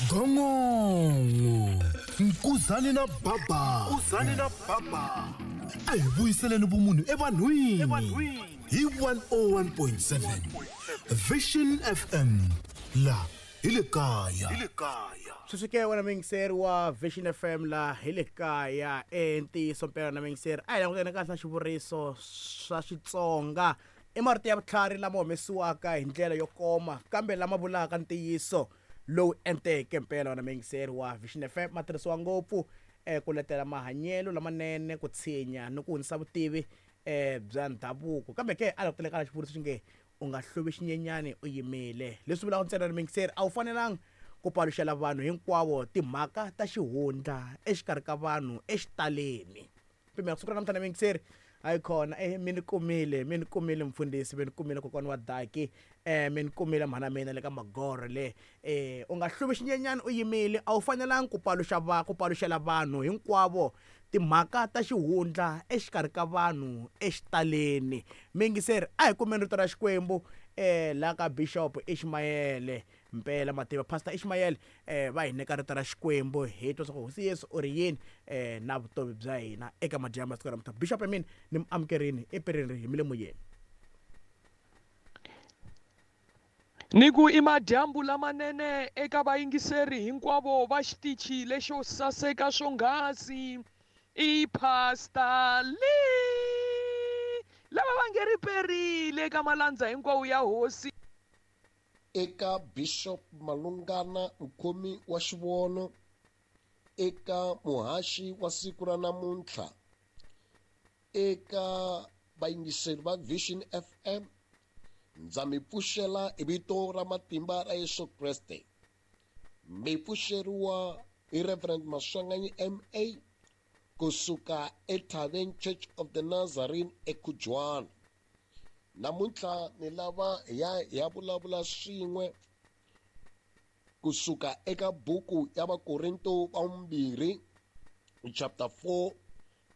Gongongo Nkuzani na Baba. Nkuzani na Baba. A hi vuyiseleni vumunhu evanhwini hi 101.7 Vision FM la hi le kaya. Hi le kaya. Sweswi ke wena muyingiseri wa Vision FM la hi le kaya ntiyiso mpela na muyingiseri a hi langutene kahle na xivuriso swa Xitsonga i marito ya vutlhari lama humesiwaka hi ndlela yo koma kambe lama vulaka ntiyiso lowu enteke mpela wena muyingiseri wa Vision FM ma tirhisiwa ngopfu ku letela mahanyelo lamanene ku tshinya ni ku hundzisa vutivi bya ndhavuko kambe ke a langutele ka xivuriso xi nge u nga hluvi xinyenyani u yimile leswi vulaka ntsena ri muyingiseri a wu fanelanga ku paluxela vanhu hinkwavo timhaka ta xihundla exikarhi ka vanhu exitaleni pimela kusuka namuntlha na muyingiseri hayi khona mi ni kumile mi ni kumile mfundhisi mi ni kumile kokwana wa daki mi ni kumile mhana mina le ka magoro le u nga hluvi xinyenyani u yimile a wu fanelanga ku paluxa va ku paluxela vanhu hinkwavo timhaka ta xihundla exikarhi ka vanhu exitaleni muyingiseri a hi kumeni rito ra Xikwembu la ka Bishop Ishmael mpela mativa Pastor Ishmael va hi nyika rito ra Xikwembu hi twa swa Hosi Yesu u ri yini na vutomi bya hina eka madyambu ya siku ra namuntlha Bishop mina ni mu amukerini epirini hi mi le moyeni. Ni ku i madyambu lamanene eka vayingiseri hinkwavo va xitichi lexo saseka swonghasi i Pastor Lee lava va nge ri perile eka malandza hinkwawo ya hosi. Eka Bishop Malungana mukhomi wa xivono, eka muhaxi wa siku ra namuntlha, eka vayingiseri va Vision FM, ndza mi pfuxela hi vito ra matimba ra Yesu Kreste. Mi pfuxeriwa hi Reverend Maswanganyi MA kusuka eThaveni Church of the Nazarene eKhujwana. Namuntlha ni lava hi ya hi ya vulavula swin'we kusuka eka buku ya Vakorinto va vumbirhi chapter 4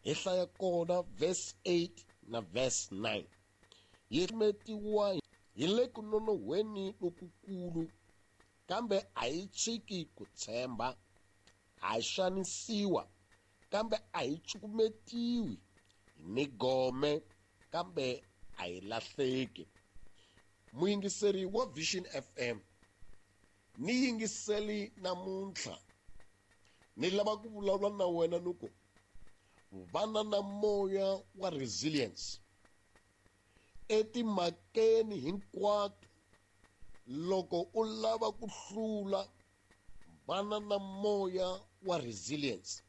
hi hlaya kona verse 8 na verse 9. Yi metiwa hi le ku nonohweni lokukulu, kambe a hi tshiki ku tshemba, ha xanisiwa, kambe a hi cukumetiwi, ni gome, kambe a hi lahleki. Muyingiseri wa Vision FM, ni yingiseli namuntlha, ni lava ku vulavula na wena ni ku vana na moya wa resilience etimhakeni hinkwato. Loko u lava ku hlula, vana na moya wa resilience.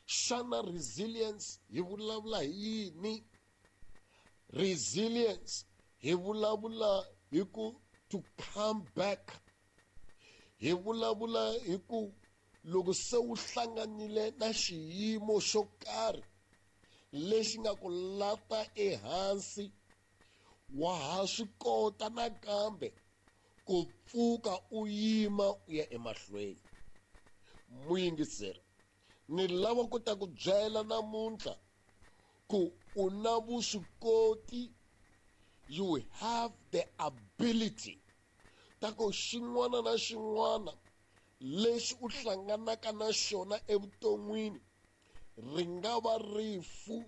Xana resilience hi vulavula hi yini? Resilience hi vulavula hi ku to come back. Hi vulavula hi ku loko se u hlanganile na xiyimo xo karhi lexi nga ku lata ehansi, wa ha swi kota nakambe ku pfuka u yima u ya emahlweni. Muyingiseri, ni lava ku ta ku byela namuntlha ku u na vuswikoti, you have the ability ta ku xin'wana na xin'wana lexi u hlanganaka na xona evuton'wini, ri nga va rifu,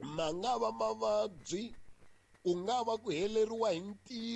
ma nga va mavabyi, ku nga va ku heleriwa hi ntirho.